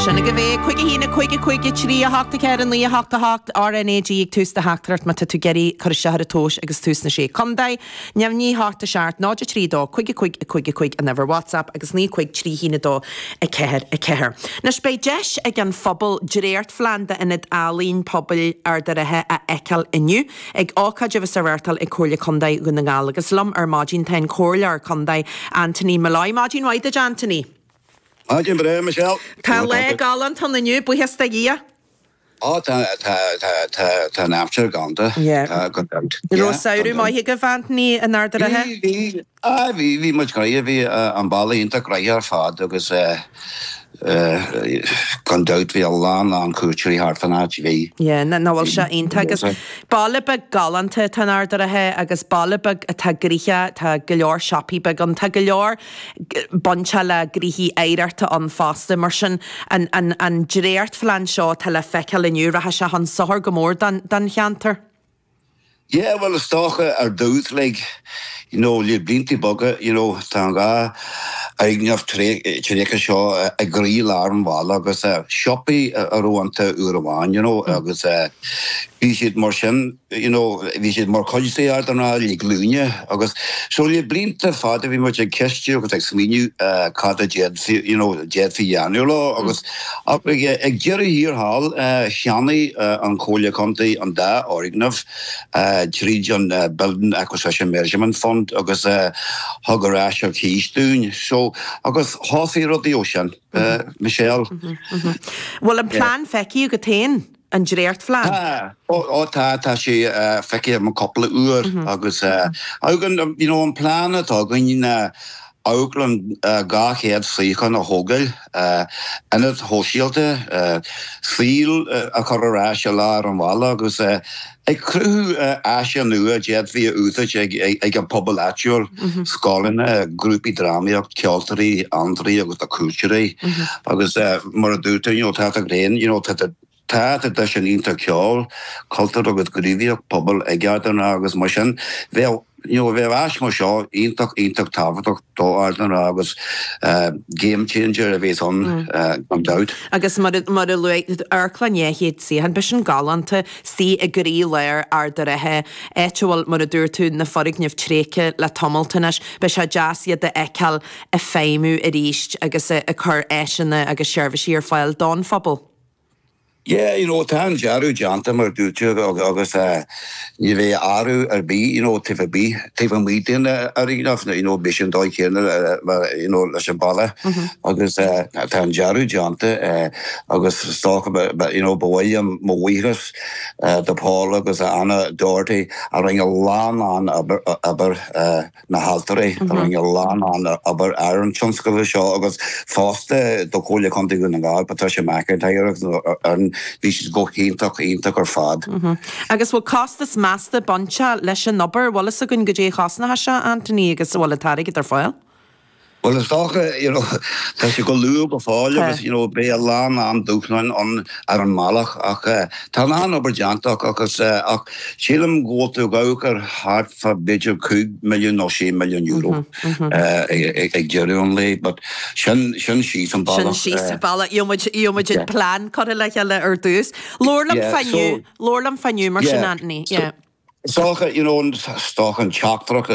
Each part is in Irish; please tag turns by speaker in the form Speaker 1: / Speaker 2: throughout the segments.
Speaker 1: Sin agaibh é, 5 1 5 5 3 8 4 9 8 8 RNAG ag tús do theachtaireacht má tá tú ag iarraidh cur isteach ar an tomhas agus tú sna Sé Contae. Neamhní 8 7 0 3 2 5 5 5 5 an uimhir WhatsApp agus 9 5 3 1 2 4 4. Anois beidh deis ag an phobal dréachtphlean d'Ionad Ealaíon Pobail Ard an Rátha a fheiceáil inniu ag ócáid a bheas á reáchtáil ag Comhairle Contae Dhún na nGall agus liom ar maidin tá an Comhairleoir Contae Anthony Molloy. Maidin mhaith duit Anthony.
Speaker 2: Maidin bhreá, Michelle.
Speaker 1: Tá lá galánta ann inniu, buíochas do Dhia.
Speaker 2: Ó, tá, tá, tá, tá, tá an aimsir galánta.
Speaker 1: Yeah.
Speaker 2: Tá, gan dabht.
Speaker 1: An raibh samhradh maith agaibh, Anthony, in Ard an Rátha?
Speaker 2: Bhí, bhí, ah, bhí, bhí muid gnoitheach, bhí an baile iontach gnoitheach ar fad agus eh, eh, gan dabht bhí a lán, lán cuairteoirí thart fán áit, bhí.
Speaker 1: Yeah, nach bhfuil sé iontach agus baile beag galánta atá in Ard an Rátha agus baile beag atá gnoitheach, tá go leor siopaí beag ann, tá go leor bainteach le gnoithí oidhreachta ann fosta. Mar sin, an an dréachtphlean seo atá le feiceáil inniu, rachaidh sé chun sochair go mór don don cheantar.
Speaker 2: Yeah, bhuel is dócha ar dtús like, you know, le blianta beaga, you know, tá an dá fhoirgneamh tréigthe seo i gcroí-lár an bhaile agus siopaí a raibh iontu uair amháin, you know, agus bhí siad mar sin you know, bhí siad mar chuid d'Ard an Rátha le glúine agus so le blianta fada bhí muid ag ceistiú agus ag smaoineamh cad a d'fhéadfaí, you know, d'fhéadfaí dhéanamh leo agus ach ag ag deireadh thiar thall cheannaigh an Chomhairle Contae an dá fhoirgneamh tríd an Building Acquisition Measurement Fund agus thug ar ais ar cíos dúinn so agus thosaigh rudaí ó sin, Michelle.
Speaker 1: Bhfuil an plean feicthe agat féin? An dréachtphlean?
Speaker 2: Tá, ó tá, tá sé feicthe agam cúpla uair agus againn, you know, an plean atá againn ná amharclann 200 suíochán a thógáil, ionad shóisialta, saol a chur ar ais i lár an bhaile agus ag cruthú áise nua a d'fhéadfaí a úsáid ag an pobal áitiúil, scoileanna, grúpaí drámaíocht, ceoltóirí, amhantóirí agus do cuairteoirí agus mar a dúirt tú, you know, tá you know, tá Tá traidisiún iontach ceoil, cultúir agus gníomhaíocht pobail ag Ard an Rátha agus mar sin bheadh you know bheadh áis mar seo iontach iontach tábhachtach do Ard an Rátha agus game changer a bheas ann gan dabht.
Speaker 1: Agus mar a mar a luaigh amharclann 200 suíochán, beidh sin galánta, istigh i gcroí-lár Ard an Rátha, áit a bhfuil, mar a dúirt tú, na foirgnimh tréigthe le tamalt anois. Beidh sé deas iad a fheiceáil ag feidhmiú arís agus ag cur áiseanna agus seirbhísí ar fáil don phobal.
Speaker 2: Yeah, you know, tá an dearadh déanta mar a dúirt tú agus ní bheidh athrú ar bith, you know, taobh ar bith, taobh amuigh den fhoirgneamh, you know, beidh sé an dóigh chéanna you know, leis an bhaile agus tá an dearadh déanta agus is dócha, you know, ba mhaith liom mo bhuíochas do Paul agus Anna Doherty a rinne a lán lán obair na hailtirí a rinne a lán lán obair ar an tionscadal seo agus fosta do Chomhairle Contae Dhún na nGall, Patricia McIntyre agus an fhoireann, bhí siad go hiontach, iontach ar fad.
Speaker 1: Agus bhfuil costas measta bainteach leis an obair? Bhfuil fhios againn goidé a chosnóidh sé, Anthony, agus an bhfuil an t-airgead ar fáil?
Speaker 2: Bhuel, is dócha, you know, tá sé go luath go fóill agus, you know, beidh a lán lán dúshláin ann ar an mbealach ach tá a lán obair déanta acu agus ach sílim go bhfuil tú ag amharc ar thart fá b'fhéidir €5 milliún nó €6 milliún ag deireadh an lae but sin, sin síos an
Speaker 1: bealach. Sin síos an bealach. Gheobhaidh muid an plean curtha le chéile ar dtús. Labhair liom fá inniu, labhair liom fá inniu mar sin, Anthony. Yeah.
Speaker 2: Is dócha, you know, is dócha an teachtaireacht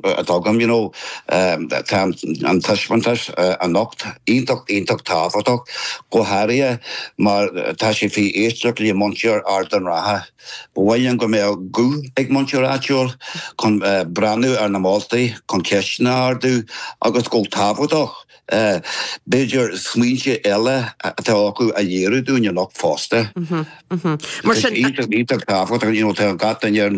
Speaker 2: atá agam, you know, tá an taispeántas anocht iontach, iontach tábhachtach, go háirithe mar tá sé faoi éisteacht le muintir Ard an Rátha. Ba mhaith linn go mbeadh guth ag muintir áitiúil chun breathnú ar na moltaí, chun ceisteanna a ardú agus go tábhachtach, b'fhéidir smaointe eile atá acu a léiriú dúinn anocht fosta.
Speaker 1: Mar sin.
Speaker 2: Iontach, iontach tábhachtach, you know, tá gach duine ar an.